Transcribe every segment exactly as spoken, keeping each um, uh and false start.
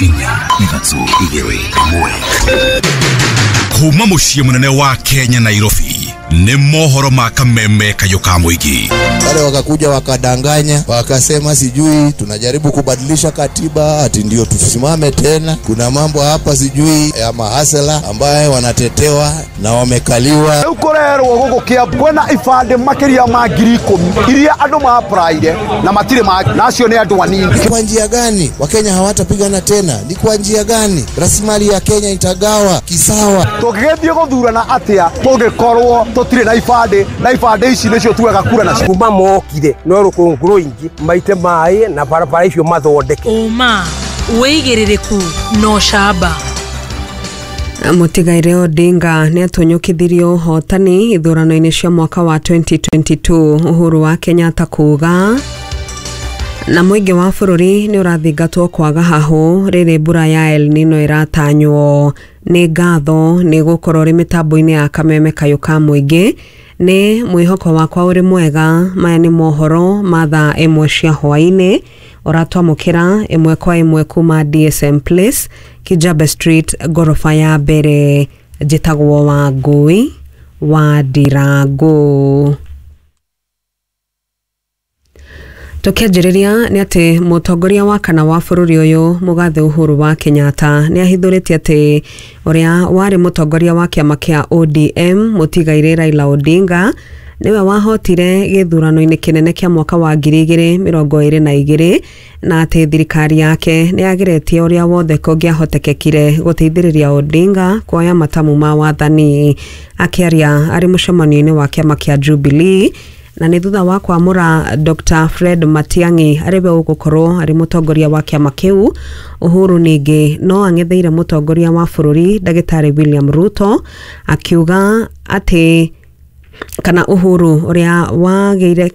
Inya, ithatũ, igĩrĩ, ĩmwe. Kuma mũciĩ mũnene wa Kenya, Nairobi, nĩ mohoro ma Kameme Kayũ ka Mũingĩ. Wale wakakuja wakadanganya, wakasema sijui tunajaribu kubadilisha katiba ati ndio tusimame tena. Kuna mambo hapa sijui ya mahasela ambaye wanatetewa na wamekaliwa. Rĩu kũrerwo gũkũ Kiambu kwĩna ibandĩ makĩria ma ngiri ikũmi iria andũ maapraire na matirĩ ma na acio nĩ andũ anini. Ni kwa njia gani Wakenya hawatapigana tena? Ni kwa njia gani rasilimali ya Kenya itagawa kisawa? Tũngĩgĩthiĩ gũthurana atĩa tũngĩkorwo tũtirĩ na ibandĩ, na ibandĩ ici nĩcio tuoyaga kura nacio? Kuma mokire no rũkũngũ rũingĩ maite maĩ na barabara icio mathondeke. Ũma, wĩigĩrĩrĩku na ũcamba. Mũtigaire Odinga nĩ atũnyũkithirio ũhotani ithurano-inĩ cia mwaka wa twenty twenty-two, Uhuru wa Kenyatta kuga. Na mũingĩ wa bũrũri nĩ ũrathingatwo kwaga hahũ rĩrĩ mbura ya El Nino ĩratanywo. Nĩ ngatho nĩ gũkorwo ũrĩ mĩtambo-inĩ ya Kameme Kayũ ka Mũingĩ. Nĩ mwĩhoko wakwa ũrĩ mwega. Maya nĩ mohoro ma thaa ĩmwe cia hwaĩ-inĩ, ũratwamũkĩra ĩmwe kwa ĩmwe kuma D S M Place, Kijabe Street, ngoroba ya mbere. Njĩtagwo Wangũi wa Ndirangũ. Tũkĩanjĩrĩria nĩ atĩ mũtongoria wa kana wa bũrũri ũyũ, mũgathe Uhuru wa Kenyatta, nĩ ahithũrĩtie atĩ ũrĩa warĩ mũtongoria wa kĩama kĩa O D M, mũtigairĩ Raila Odinga, nĩwe wahotire gĩthurano-inĩ kĩnene kĩa mwaka wa ngiri igĩrĩ mĩrongo ĩrĩ na igĩrĩ, na atĩ thirikari yake nĩ yageretie ũrĩa wothe kũngĩahotekekire gũteithĩrĩria Odinga kuoya matamu ma wathani. Akĩaria arĩ mũcemanio-inĩ wa kĩama kĩa Jubilee, na nĩ thutha wa kwamũra Doctor Fred Matiang'i arĩ we ũgũkorwo arĩ mũtongoria wa kĩama kĩu, Uhuru ningĩ no ang'etheire mũtongoria wa bũrũri Ndagĩtarĩ William Ruto, akiuga atĩ kana Uhuru ũrĩa wagĩire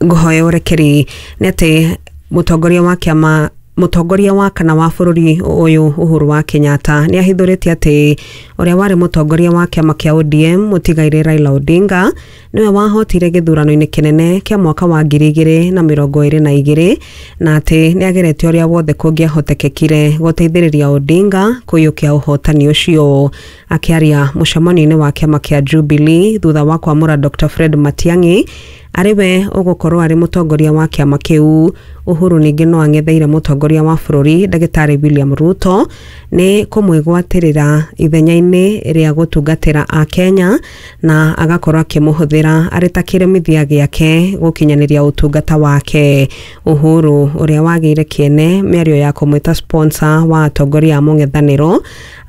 ngũhoya ũrekeri nĩ atĩ mũtongoria wa kĩama, mũtongoria wa kana wa bũrũri ũyũ Uhuru wa Kenyatta nĩ ahithũrĩtie atĩ ũrĩa warĩ mũtongoria wa kĩama kĩa O D M, mũtigairĩ Raila Odinga, nĩwe wahotire gĩthurano-inĩ kĩnene kĩa mwaka wa ngiri igĩrĩ na mĩrongo ĩrĩ na igĩrĩ, na atĩ nĩ ageretie ũrĩa wothe kũngĩahotekekire gũteithĩrĩria Odinga kũiyũkia ũhotani ũcio. Akĩaria mũcemanio-inĩ wa kĩama kĩa Jubilee thutha wa kwamũra Doctor Fred Matiang'i arĩ we ũgũkorwo arĩ mũtongoria wa kĩama kĩu, Uhuru ningĩ no ang'etheire mũtongoria wa bũrũri Ndagĩtarĩ William Ruto nĩ kũmwĩgwatĩrĩra ithenya-inĩ rĩa gũtungatĩra Akenya na agakorwo akĩmũhũthĩra arĩ ta kĩremithia gĩake gũkinyanĩria ũtungata wake. Uhuru ũrĩa wagĩire kĩene mĩario ya kũmwĩta sponsor wa atongoria a mũng'ethanĩro.